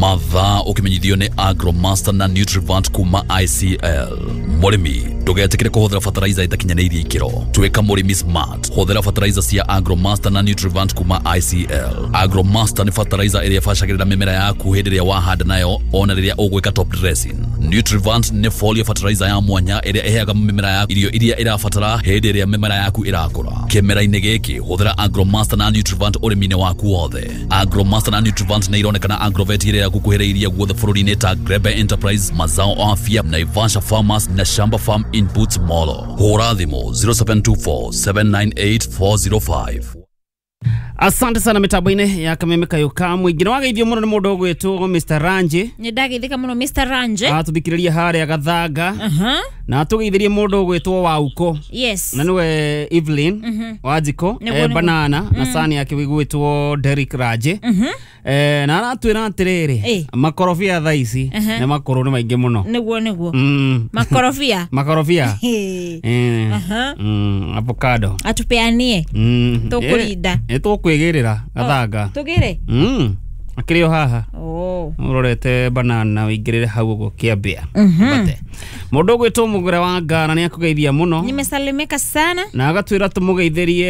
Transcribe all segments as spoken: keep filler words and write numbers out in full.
Mathaa ũkĩmenyithio nĩ Agromaster na Nutrivant kuma I C L. Mũrĩmi ndũgetĩkĩre kũhũthĩra fertilizer ĩtakinyanĩirie ikĩro. Tuĩka mũrĩmi smart. Hũthĩra fertilizer cia Agromaster na Nutrivant kuma I C L. Agromaster nĩ fertilizer ĩrĩa ĩbacagĩrĩra mĩmera yaku hĩndĩ ĩrĩa wahanda nayo ona rĩrĩa ũgwĩka top dressing. Nutrivant nĩ foliar fertilizer ya mwanya ĩrĩa ĩheaga mĩmera yaku irio iria ĩrabatara hĩndĩ ĩrĩa mĩmera yaku ĩrakũra. Kĩmera-inĩ gĩkĩ hũthĩra Agromaster na Nutrivant ũrĩmi-inĩ waku wothe. Agromaster na Nutrivant nĩ ironekana Agrovet ĩrĩa ĩgũkuhĩrĩirie guothe bũrũri-inĩ ta Grebe Enterprise, Mazao Afya, Naivasha Farmers na Shamba Farm Inputs Molo. Hũra thimũ zero seven two four seven nine eight four zero five. Asante sana mitambo-inĩ ya Kameme Kayũ Mũingĩ. Nĩ wageithio mũno nĩ mũndũ ũgwĩtwo Mister Ranji. Nĩ ndageithĩka mũno Mister Ranji. Atũthikĩrĩria harĩa Gathanga. Uh-huh. Na atũgeithirie mũndũ ũgwĩtwo Wauko. Yes. Na nĩwe Evelyn mm-hmm. Wanjiko, eh, Banana mm. na sani yake wĩgwĩtwo Derrick Ranji. Mm-hmm. Eh, na aratwĩra atĩrĩrĩ eh. makorobia thaa ici uh-huh. nĩ makũrũ nĩ maingĩ mũno. Nĩguo nĩguo. Mm. Makorobia. Makorobia. Eh. Uh-huh. Mm, avocado. Atupeanie. Mm. Tũkũrinda. Eh, tũkwĩgĩrĩra Gathanga. Tũgĩre? Mm. Akĩrĩ o haha. Oh. Ũrorete banana ũingĩrĩre hau ũguo kĩambĩa. Mhm. Mũndũ ũgwĩtwo Mũgũre wa Ngara nĩ akũgeithia mũno. Nimesalimika sana. Na agatwĩra tũmũgeithĩrie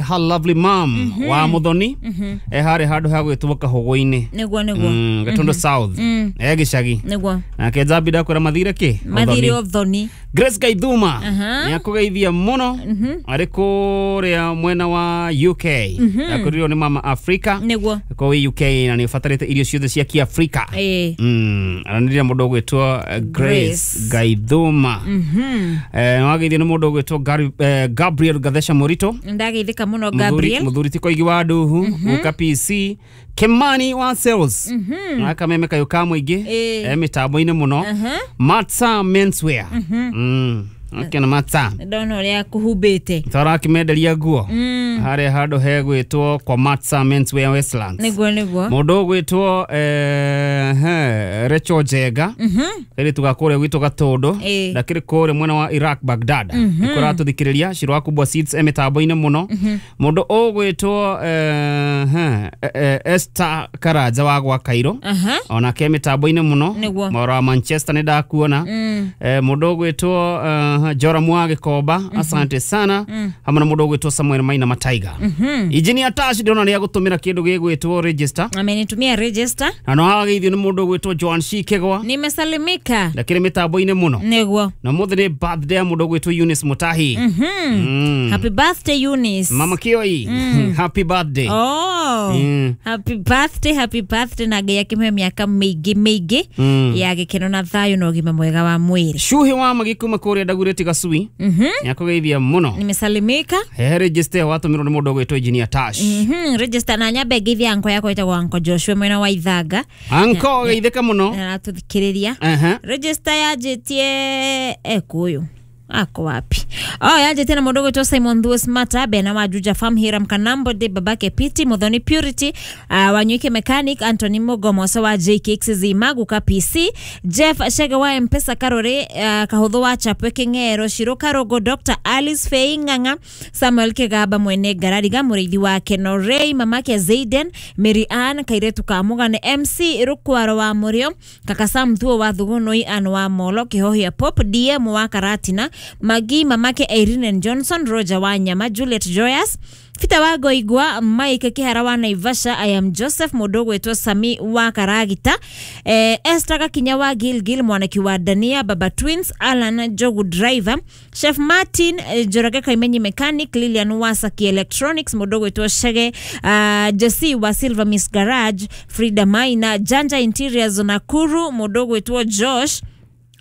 her lovely mom mm -hmm. wa Muthoni. Mm -hmm. E harĩ handũ ha gwĩtwo Kahũgũ-inĩ. Nĩguo nĩguo. Mm, Gatundu mm -hmm. South. Mm. E gĩcagi. Nĩguo. Nake Njambi ndakwĩra mathire kĩ? Mathire Ũthoni. Grace Gaithuma uh -huh. nĩ akũgeithia mũno mm -hmm. arĩ kũrĩa mwena wa U K. Mm -hmm. Akũrirwo nĩ mama Africa. Nĩguo. Kũu U K na nĩ ũbatarĩte irio ciothe cia Kĩafrika. Eh. Mm, aranĩria mũndũ ũgwĩtwo Grace Gaithuma. Mhm. Eh, wageithio nĩ mũndũ ũgwĩtwo eh, Gabriel Gathesha Morito. Ndageithĩka mũno Gabriel. Mũthuri ti Koigi wa Nduhu, Guka P C, Kimani wa Sales. Mhm. Na Kameme Kayũ ka Mũingĩ. Eh. Eh, mĩtambo-inĩ mũno. Mhm. Matsa Menswear. Mhm. Mm. Okay, na Matsa. Ndona ũrĩa kũhumbĩte. Tũrakĩmenderia nguo. Mm. Harĩa handũ hegwĩtwo kwa Matsa Menswear Westlands. Nĩguo nĩguo. Mũndũ ũgwĩtwo eh he Rachel Njega. Mhm. Kairĩtu ga kũrĩa gwitũ Gatũndũ. Eh. Ndakĩrĩ kũrĩa mwena wa Iraq Baghdad. Mm -hmm. Nĩkũratũthikĩrĩria Shiro wa Kubwa Seeds e mĩtambo-inĩ mũno. Mm -hmm. Mũndũ ũgwĩtwo eh he eh, Esther Karanja wa gwa Cairo. Uh -huh. Onake mĩtambo-inĩ mũno. Nĩguo. Mwaro wa Manchester nĩ ndakuona. Mm. Eh, mũndũ ũgwĩtwo uh, Joram wa Gĩkomba. Mm -hmm. Asante sana. Mm. Hamwe na mũndũ ũgwĩtwo Samuel Maina Mataiga. Mm -hmm. Engineer Tash ndĩrona nĩ agũtũmĩra kĩndũ gĩgwĩtwo register. Amenitumia register. Na no ageithio nĩ mũndũ ũgwĩtwo Joan Shikegwa. Nimesalimika. Ndakĩrĩ mĩtambo-inĩ mũno. Nĩguo. Na mũthĩ nĩ birthday ya mũndũ ũgwĩtwo Eunice Mutahi. Mm -hmm. Mm. Happy birthday Eunice. Mama Kioi. Mm. Happy birthday. Oh. Mm. Happy birthday, happy birthday na Ngai akĩmũhe mĩaka mĩingĩ mĩingĩ mm. ya gĩkeno na thayũ na ũgima mwega wa mwĩrĩ. Shuhi wa Magi kuma kũrĩa Ndagurĩti Gacui. Mhm. Nĩ akũgeithia mũno. Nimesalimika. He register watũmĩrwo nĩ mũndũ ũgwĩtwo Engineer Tash. Mhm, register na nyambe ngeithia anko yakwa ĩtagwo Anko Joshua mwena wa Ithanga. Anko geithĩka mũno. Aratũthikĩrĩria. Uh-huh. Register yanjĩtie ekũyũ. Ako wapi? Oh, yanjĩtie na mũndũ ũgwĩtwo Simon Thuo Mata, Bena wa Juja Farm, Hiram Kanambo, de babake Piti, Muthoni Purity, uh, Wanyuike Mechanic, Anthony Mugomoso wa J K X Zima, Guka P C, Jeff Shege wa Mpesa Karore, uh, Kahũthũ wa Chapwe Kĩng'ero, Shiro Karogo, Doctor Alice Fei Ng'ang'a, Samuel Kĩgamba mwene Ngarariga, mũrĩithi wa Kenorei, mamake Zaiden, Mary Ann, Kairetu ka Mũgane, M C Rukwaro wa Mũrĩo, Kaka Sam Thuo wa Thugunui, Ann wa Molo, Kĩhohia Pop, D M wa Karatina, Magi mamake Irene Johnson, Roger wa Nyama, Juliet Joyous, Fita wa Goigwa, Mike Kihara wa Naivasha, I am Joseph mũndũ ũgwĩtwo Sami wa Karagita, eh, Esther Gakinya wa Gilgil, mwanaki wa Dania, Baba Twins, Alan Jogu Driver, Chef Martin eh, Njoroge Kaimenyi Mechanic, Lilian wa Saki Electronics, mũndũ ũgwĩtwo Shege, uh, Jesse wa Silver Miss Garage, Frida Maina, Janja Interiors Nakuru, mũndũ ũgwĩtwo Josh,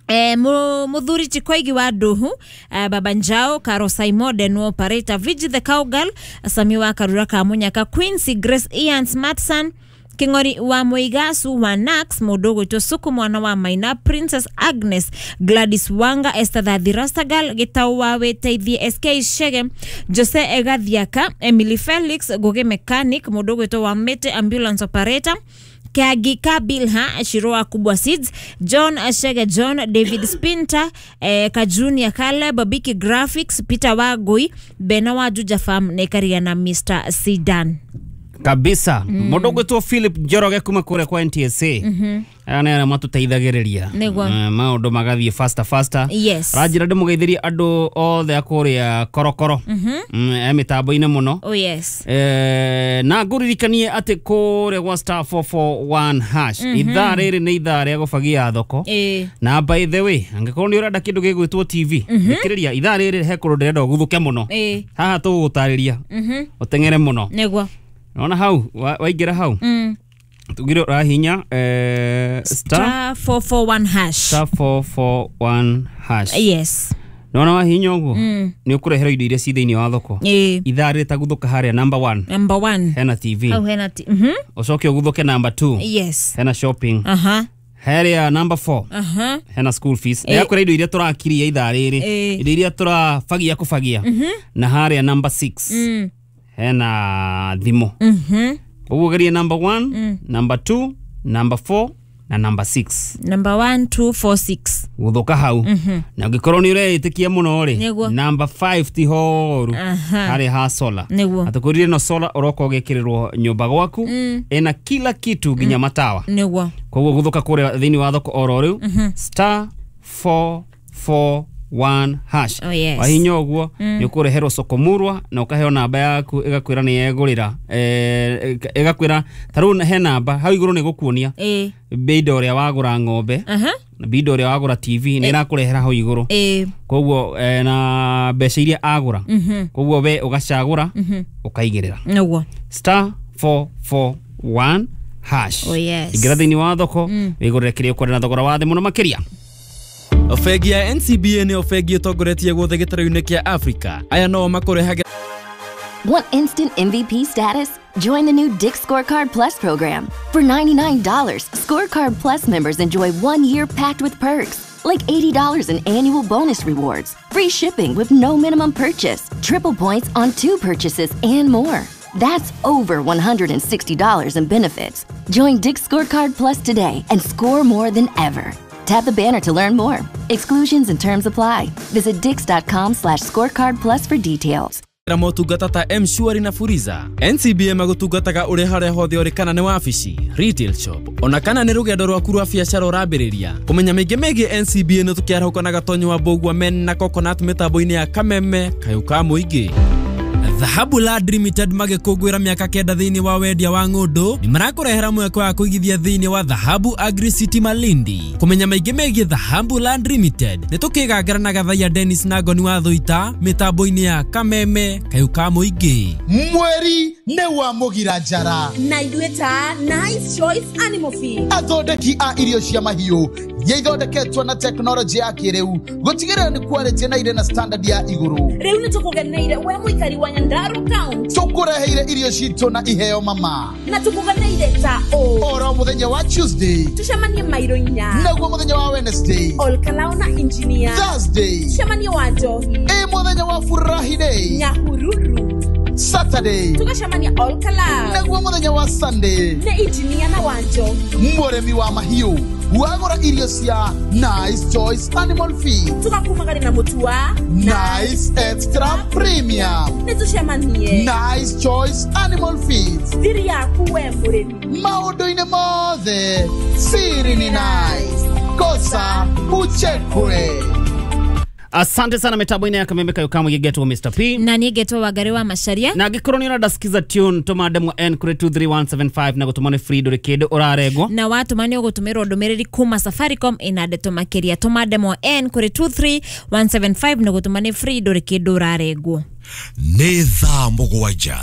Eh, muthuri Chikoigi wa Nduhu, eh, Baba Njao, Karo Simon operator, Vigi the Cowgirl, Sami wa Karura ka Munyaka, Quincy Grace Ian Smartson, King'ori wa Muigasu wa Nax, mũndũ ũgwĩtwo Suku mwana wa Maina, Princess Agnes, Gladys Wanga, Esther Thathi Rastagal, Gitau wa Wĩteithie, S K Shege, Jose Egathiaka, Emily Felix, Ngugi Mechanic, mũndũ ũgwĩtwo wa Mete Ambulance Operator, Kagi Kabilha, Shiroa Kubwa Seeds, John Ashege John, David Spinter, eh, Kajunia Caleb, Biki Graphics, Peter Wagui, Bena wa Juja Farm, Nekaria na Mister Sidan. Kabisa. Mũndũ ũgwĩtwo Philip Njoroge kuma kũrĩa kwa N T S A. Aya nĩ arĩa matũteithagĩrĩria. Nĩguo. Maũndũ magathiĩ faster faster. Yes. Ranjĩra ndĩmũgeithĩrie andũ othe a kũrĩa korokoro. E mĩtambo-inĩ mũno. Oh yes. Eh, na ngũririkanie atĩ kũrĩa gwa star four four one hash ithaa rĩrĩ nĩ ithaa rĩa gũbagia thoko. Eh. Na by the way, angĩkorwo nĩ ũrenda kĩndũ gĩgwĩtwo T V, thikĩrĩria ithaa rĩrĩ he kũndũ ndĩrenda ũguthũke mũno. Eh. Haha tũgũgũtarĩria. Ũteng'ere mũno. Nĩguo. Naona hau waingĩra hau. Mm. Tugire ũrahinya eh, star four four one hash. Star four four one hash. Yes. Naona wahinya ũguo nĩ ũkũreherwo indo iria ci thĩinĩ wa thoko. Eh. Ithaa rĩrĩ taguthũka harĩa number one. Number one. Hena T V. Hau hena T V. Mhm. Ũcoke ũguthũke number two. Yes. Hena shopping. Aha. Harĩa number four. Aha. Hena school fees. Ndĩrakwĩra indo iria tũrakiria ithaa rĩrĩ. Indo iria tũrabagia kũbagia. Na harĩa number six. Mm. Hena thimũ. Mhm. Ũguo geria number one, mm. number two, number four na number six. Number one, two, four, six. Gũthũka hau. Mm-hmm. Na ũngĩkorwo nĩ ũreĩtĩkia mũno rĩ, Nĩguo. number five ti horu. Aha. Harĩa ha solar. Nĩguo. Atũkwĩrire no solar ũroka ũgekĩrĩrwo nyũmba gwaku. Mm. Ĩna kila kitu nginya mm. matawa. Nĩguo. Koguo gũthũka kũrĩa thĩinĩ wa thoko oro rĩu. Mm-hmm. Star four four one hash. Oh, yes. Wahinya ũguo nĩ ũkũreherwo soko murwa na ũkaheo namba yaku ĩgakwĩra nĩ yegũrĩra eh, ĩgakwĩra ta rĩu he namba hau igũrũ nĩ gũkuonia Eh. bei ũrĩa wagũra ng'ombe Aha. na bei ũrĩa wagũra T V nĩ ĩrakũrehera hau igũrũ. Eh. Koguo eh, na mbeca iria agũra. Mhm. Koguo we ũgacagũra ũkaigĩrĩra. Nĩguo. Star four four one hash. Oh, yes. Ingĩra thĩinĩ wa thoko wĩgũrĩre kĩrĩa ũkwenda na thogora wa thĩ mũno makĩria. Bengi ya N C B A nĩyo bengi ĩtongoretie guothe gĩtarũ-inĩ kĩa Africa. Aya no makũrehagĩra. Want instant M V P status? Join the new Dick's Scorecard Plus program. For ninety-nine dollars, Scorecard Plus members enjoy one year packed with perks, like eighty dollars in annual bonus rewards, free shipping with no minimum purchase, triple points on two purchases, and more. That's over one hundred sixty dollars in benefits. Join Dick's Scorecard Plus today and score more than ever. Tap the banner to learn more. Exclusions and terms apply. Visit dicks.com slash scorecard plus for details. Motungata ta M-Shwari na Fuliza. N C B A magũtungataga ũrĩ harĩa hothe ũrĩ kana nĩ wabici, retail shop, ona kana nĩ rũgendo rwaku rwa biacara ũrambĩrĩria. Kũmenya maingĩ megiĩ N C B A nĩ tũkĩarahũka na Gatonyo wa Mbũgua Men na Coconut mĩtambo-inĩ ya Kameme Kayũ ka Mũingĩ. Dhahabu Land Limited magĩkũngũĩra mĩaka kenda thĩinĩ wa wendia wa ng'ũndũ nĩ marakũrehera mweke wa kũigithia thĩinĩ wa Dhahabu Agri City Malindi. Kũmenya maingĩ megiĩ Dhahabu Land Limited nĩ tũkĩgangara na Gathaiya Dennis na Ngoni wa Thũita mĩtambo-inĩ ya Kameme Kayũ ka Mũingĩ. Mweri nĩ wa mũgira njara na ithuĩ ta Nice Choice Animal Feed, athondeki a irio cia mahiũ iria ithondeketwo na tekinoronjĩ ya kĩrĩu gũtigĩrĩra nĩ quality na irĩ na standard ya igũrũ. Rĩu nĩ tũkũgeneire we mũikari wa Nyandarua County, tũkũreheire irio citũ na iheo mama, na tũkũgeneire ta ũ oro mũthenya wa Tuesday tũcemanie mairo inya, naguo mũthenya wa Wednesday Olkalao na engineer, Thursday tũcemanie wa Njohi, ĩ mũthenya wa Furahi Day Nyahururu, Saturday tũgacemania Olkalao, naguo mũthenya wa Sunday nĩ engineer na wa Njohi, mũrĩmi wa mahiũ wagũra irio cia Nice Choice Animal Feed tũgakumagari na mũtu wa Nice Extra Premium, nĩ tũcemanie Nice Choice Animal Feed, thiri yaku we mũrĩmi maũndũ-inĩ mothe siri ni nice kosa uchekwe. Asante sana mitambo-inĩ ya Kameme Kayũ ka Mũingĩ ngetwo Mister P na niĩ ngetwo Wangari wa Macharia, na angĩkorwo nĩ ũrenda skiza tune tũma ndemwa N kũrĩ two three one seven five na gũtũma nĩ free ndũrĩ kĩndũ ũrarengwo, na watũma nĩ ũgũtũmĩrwo ndũmĩrĩri kuma Safaricom ĩna ndeto makĩria. Tũma ndemwa N kũrĩ two three one seven five na gũtũma nĩ free ndũrĩ kĩndũ ũrarengwo. Nĩ thaa mũgwanja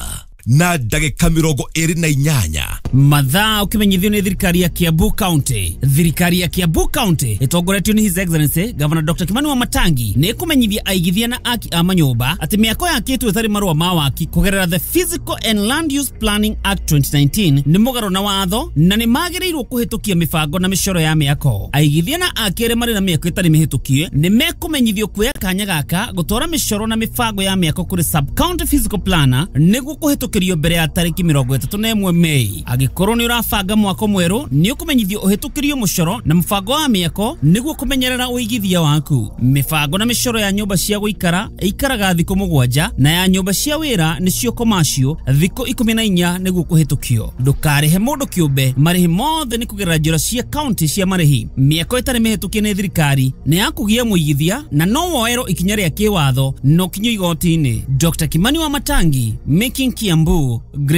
na ndagĩka mĩrongo ĩrĩ na inyanya. Mathaa ũkĩmenyithio nĩ thirikari ya Kiambu County. Thirikari ya Kiambu County ĩtongoretio nĩ His Excellency Governor Doctor Kimani Wamatangi nĩ ĩkũmenyithia aigithia na aki a manyũmba atĩ mĩako yakĩtwo ĩtarĩ marũa ma waki kũgerera the Physical and Land Use Planning Act twenty nineteen nĩ mũgarũ na watho na nĩ magĩrĩirwo kũhĩtũkia mĩbango na mĩcoro ya mĩako. Aigithia na aki arĩa marĩ na mĩako ĩtarĩ mĩhĩtũkie nĩ mekũmenyithio kuoya kanya gaka gũtwara mĩcoro na mĩbango ya mĩako kũrĩ sub county physical planner nĩguo kũhĩtũkia kũhĩtũkĩrio mbere ya tarĩki mĩrongo ĩtatũ na ĩmwe Mei. Angĩkorwo nĩ ũrabanga mwako mwerũ, nĩ ũkũmenyithio ũhĩtũkĩrio mũcoro na mũbango wa mĩako nĩguo kũmenyerera ũigithia waku. Mĩbango na mĩcoro ya nyũmba cia gũikara ĩikaraga thikũ mũgwanja na ya nyũmba cia wĩra nĩcio commercial thikũ ikũmi na inya nĩguo kũhĩtũkio. Ndũkarĩhe mũndũ kĩũmbe, marĩhi mothe nĩ kũgerera njĩra cia kaunti cia marĩhi. Mĩako ĩtarĩ mĩhĩtũkie nĩ thirikari nĩ ya kũgia mũigithia na no woerwo ikinya rĩa kĩwatho no kinyio igoti-inĩ. Doctor Kimani wa Matangi, Making Kiambu Great.